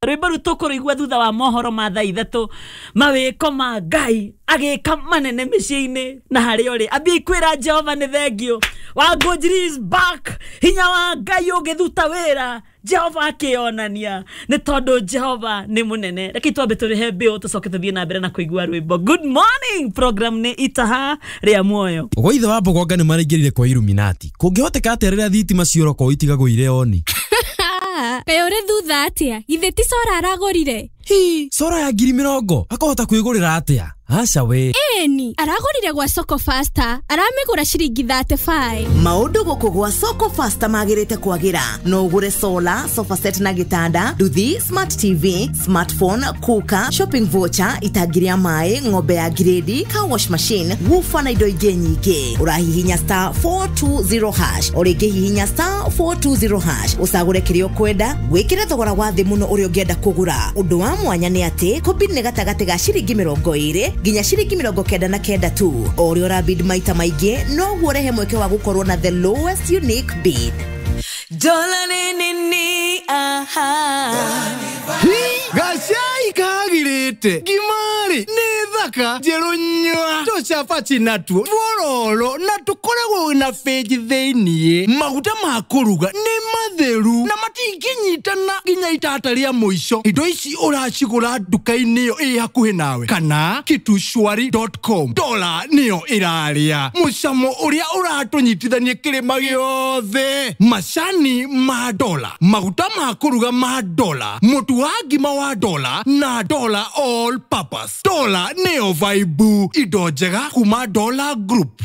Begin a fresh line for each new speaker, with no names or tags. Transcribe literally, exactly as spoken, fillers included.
Rwĩmbo rũu tũkũrũigua thutha wa mohoro ma thaa ithatũ. Mawĩko ma Ngai agĩka manene mĩciĩ-inĩ na harĩa ũrĩ, ambia kwĩra Jehova nĩ thengiũ. Wangũnjiri is back. Hinya wa Ngai ũngĩthuta wĩra, Jehova akĩonania nĩ tondũ Jehova nĩ mũnene. Reke twambe tũrĩhe biũ, tũcoke tũthiĩ na mbere na kũigua rwĩmbo. Good morning, program nĩ Itaha rĩa Muoyo.
Gwa ithe wa Mbogonga nĩ maraingĩrire kwa Illuminati. Kũngĩhoteka atĩa rĩrĩa thitima ciora itigagwo irĩ oni?
Kaĩ ũrĩ thutha atĩa? Githĩ ti solar aragũrire?
Hi, solar ya ngiri mĩrongo akahota kwĩgũrĩra atĩa? Aca we.
Ĩni, aragũrire gwa Soko Faster, aramĩgũra ciringi thirty-five.
Maũndũ gũkũ gwa Soko Faster magĩrĩte kwagĩra. No ũgũre solar, sofa set na gĩtanda, nduthi, smart T V, smartphone, cooker, shopping voucher, itangi rĩa maĩ, ng'ombe ya grade, car wash machine, woofer na indo ingĩ nyingĩ. Ũrahihinya star four two zero hash, o rĩngĩ hihinya star four two zero hash, ũcagũre kĩrĩa ũkwenda, wĩkĩre thogora wa thĩ mũno ũrĩa ũngĩenda kũgũra. Ũndũ wa mwanya nĩ atĩ kũbid nĩ gatagatĩ ga ciringi mĩrongo ĩrĩ nginya ciringi mĩrongo kenda na kenda tu. O ũrĩa ũrabid maita maingĩ, noguo ũrehe mweke wa gũkorwo na the lowest unique bid.
Dola ni ni aha.
Gacai kagirĩte ngimari nĩ thaka njerũ nyua, tũcabaci natuo tuororo na tũkoragwo na bĩnji thĩiniĩ. Maguta ma kũruga nĩ matheru na matingĩnyitana nginya itata rĩa mũico. Indo ici ũracigũra nduka-inĩ ĩyo ĩ hakuhĩ nawe kana kitushwari dot com. Dola nĩyo ĩrarĩa mũcamo ũrĩa ũratũnyitithania kĩrĩma gĩothe. Macani ma Dola, maguta ma kũruga ma Dola, mũtu wa ngima wa Dola na Dola all purpose. Dola nĩyo vibe, indo njega kuma Dola Group.